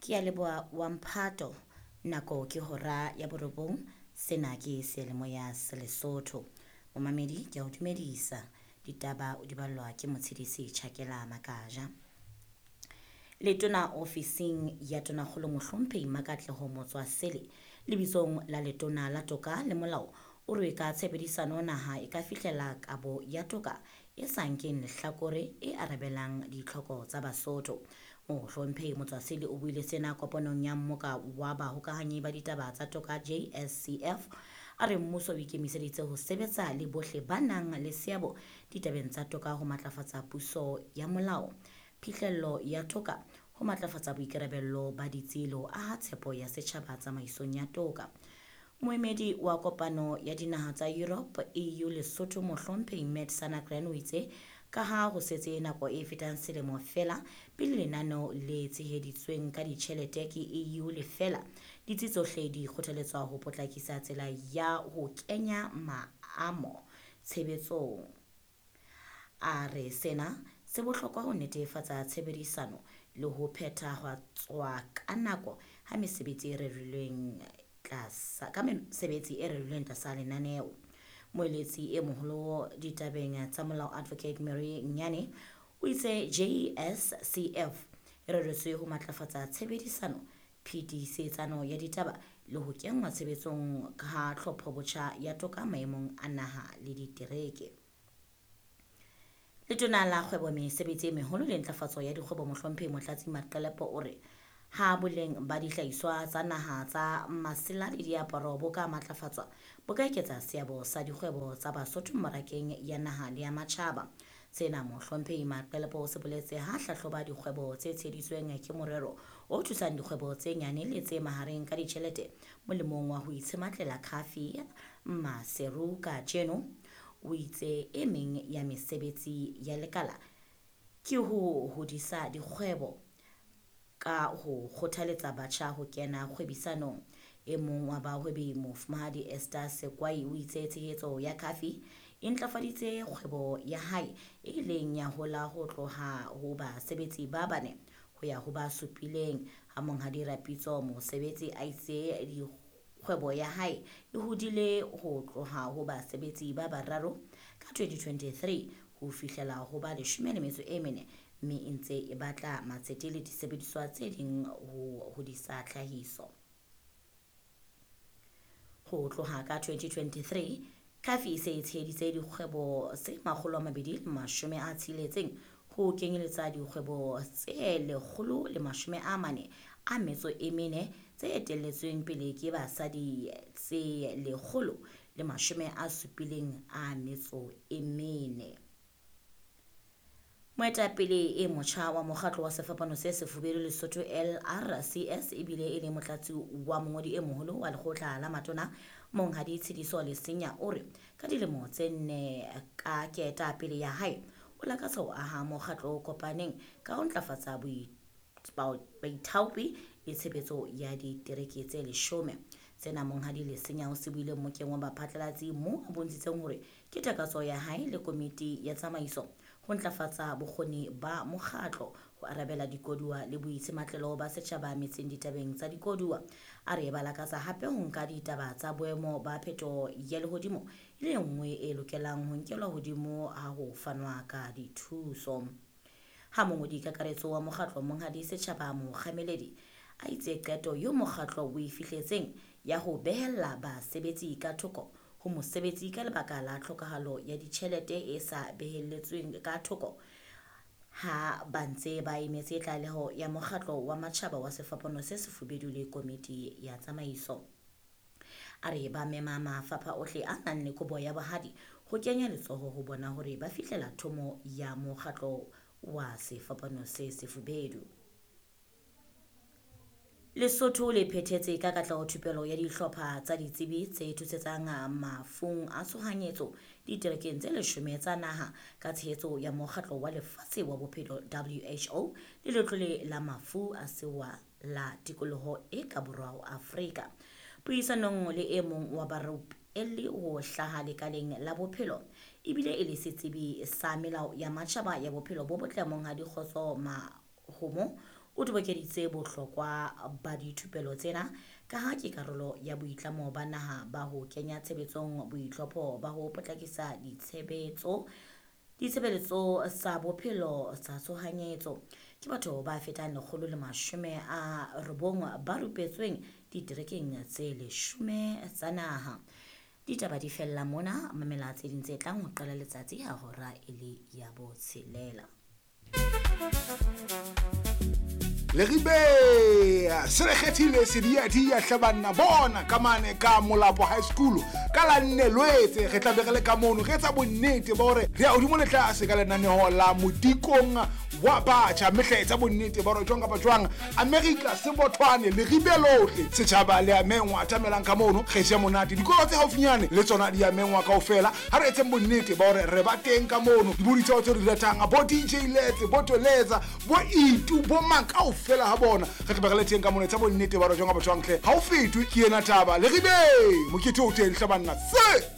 Ke a leboha wa mphato. Nako ke hora ya borobong. Sena ke seyalemoya sa Lesotho. Momamedi ke a o dumedisa. Ditaba o di ballwa ke Motshedisi Tjhakela Makaja. Letona ofising ya Tonakgolo Mohlomphehi Makatleho Motswasele lebitsong la Letona la Toka le Molao o re ka tshebedisano naha e ka fihlela kabo ya toka e sa nkeng lehlakore e arabelang ditlhoko tsa Basotho. Mohlomphehi Motswasele o buile sena kopanong ya mmoka wa bahokahanyi ba ditaba tsa toka JSCF. A re mmuso o ikemiseditse ho sebetsa le bohle ba nang le seabo ditabeng tsa toka ho matlafatsa puso ya molao, phihlello ya toka, ho matlafatsa boikarabello ba ditsi le ho aha tshepo ya setjhaba tsamaisong ya toka. Moemedi wa kopano ya dinaha tsa Europe EU Lesotho Mohlomphehi Matt Sanagren o itse ka ha ho setse nako e fetang selemo feela pele lenaneo le tsheheditsweng ka ditjhelete ke EU le fela, ditsi tsohle di kgothaletswa ho potlakisa tsela ya ho kenya maamo tshebetsong. A re sena se bohlokwa ho netefatsa tshebedisano le ho phethahatswa ka nako ha mesebetsi e rerilweng tlasa ka mesebetsi e rerilweng tlasa lenaneo. Moeletsi e moholo ditabeng tsa molao Advocate Mary Nyane o itse JSCF e reretswe ho matlafatsa tshebedisano, phetisetano ya ditaba le ho kenngwa tshebetsong ha tlhophobotjha ya toka maemong a naha le ditereke. Letona la kgwebo mesebetsi e meholo le ntlafatso ya dikgwebo Mohlomphehi Motlatsi Maqelepo o re ha boleng ba dihlahiswa tsa naha tsa masela le diaparo bo ka matlafatswa, bo ka eketsa seabo sa dikgwebo tsa Basotho mmarakeng ya naha le ya matjhaba. Sena Mohlomphehi Maqelepo o se boletse ha hlahloba dikgwebo tse tsheheditsweng ke morero o thusang dikgwebo tse nyane le tse mahareng ka ditjhelete molemong wa ho itshematlela Khafi Maseru kajeno. O itse e meng ya mesebetsi ya lekala ke ho hodisa dikgwebo ka ho kgothaletsa batjha ho kena kgwebisanong. E mong wa bahwebi Mofumahadi Esther Sekwai o itse tshehetso ya Khafi e ntlafaditse kgwebo ya hae e ileng ya hola ho tloha ho basebetsi ba bane ho ya ho ba supileng. Ha Monghadi Rapitso mosebetsi a itse kgwebo ya hae e hodile ho tloha ho basebetsi ba bararo ka 2023 ho fihlela ho ba 14, mme e ntse e batla matsete le disebediswa tse ding ho hodisa tlhahiso. Ho tloha ka 2023, Khafi e se e tsheheditse dikgwebo tse 260 ho kenyeletsa dikgwebo tse 144 tse etelletsweng pele ke basadi tse 174. Moetapele e motjha wa mokgatlo wa Sefapano se Sefubedu Lesotho LRCS ebile e le motlatsi wa mongodi e moholo wa lekgotla la matona Monghadi Tshidiso Lesenya o re ka dilemo tse nne ka ketapele ya hae o lakatsa ho aha mokgatlo o kopaneng ka ho ntlafatsa baithaopi le tshebetso ya ditereke tse 10. Sena Monghadi Lesenya o se buile mmokeng wa baphatlalatsi moo a bontshitseng hore ke takatso ya hae le komiti ya tsamaiso ho ntlafatsa bokgoni ba mokgatlo ho arabela dikoduwa le boitsematlelo ba setjhaba metseng ditabeng tsa dikoduwa. A re ba lakatsa hape ho nka ditaba tsa boemo ba phetoho ya lehodimo e le nngwe e lokelang ho nkelwa hodimo ha ho fanwa ka dithuso. Ha mongodi kakaretso wa mokgatlo Monghadi Setjhaba Mokgameledi a itse qeto eo mokgatlo o e fihletseng ya ho behella basebetsi ka thoko ho mosebetsi ka lebaka la tlhokahalo ya ditjhelete e sa behelletsweng ka thoko ha ba ntse ba emetse tlaleho ya mokgatlo wa matjhaba wa Sefapano se Sefubedu le komiti ya tsamaiso. A re ba mema mafapha ohle a nang le kobo ya bohadi ho kenya letsoho ho bona hore ba fihlela thomo ya mokgatlo wa Sefapano se Sefubedu. Lesotho le phethetse ka katleho thupelo ya dihlopha tsa ditsebi tse thusetsang mafung a tshohanyetso diterekeng tse 10 tsa naha ka tshehetso ya mokgatlo wa lefatshe wa bophelo WHO le letlole la mafu a sewa la tikoloho e ka borwa ho Afrika. Puisanong le e mong wa barupelli ho hlaha lekaleng la bophelo ebile e le setsebi sa melao ya matjhaba ya bophelo bo botle Monghadi Kgotso Mahomo O tobokeditse bohlokwa ba dithupelo tsena ka ha ke karolo ya boitlamo ba naha ba ho kenya tshebetsong boitlhopho ba ho potlakisa ditshebetso ditshebeletso tsa bophelo tsa tshohanyetso. Ke batho ba fetang 190 ba rupetsweng diterekeng tse 10 tsa naha. Ditaba di fella mona, mamela tse ding tse tlang ho qala letsatsi ha hora e le ya botshelela. Leribe se re kgethile sediadia hle banna bona ka mane ka Molapo High School ka la nne Lwetse re tla be re le ka mono re etsa bonnete ba hore re ya hodimo le tlase ka lenaneo la modikong wa batjha mme hle etsa bonnete ba hore jwang kapa jwang America sebothwane leribe lohle setjhaba le a mengwa atamelang ka mono re je monate dikolo tse haufinyane le tsona di a mengwa kaofela ha re etseng bonnete ba hore re ba teng ka mono dibodi tseo tse re di ratang bo DJ Letse bo Toletsa bo Itu bo mang kaofela ha bona re tla be re le teng ka mono etsa bonnete ba hore jwang kapa jwang hle ha o fetwe ke ena taba leribe mokete o teng hle banna se.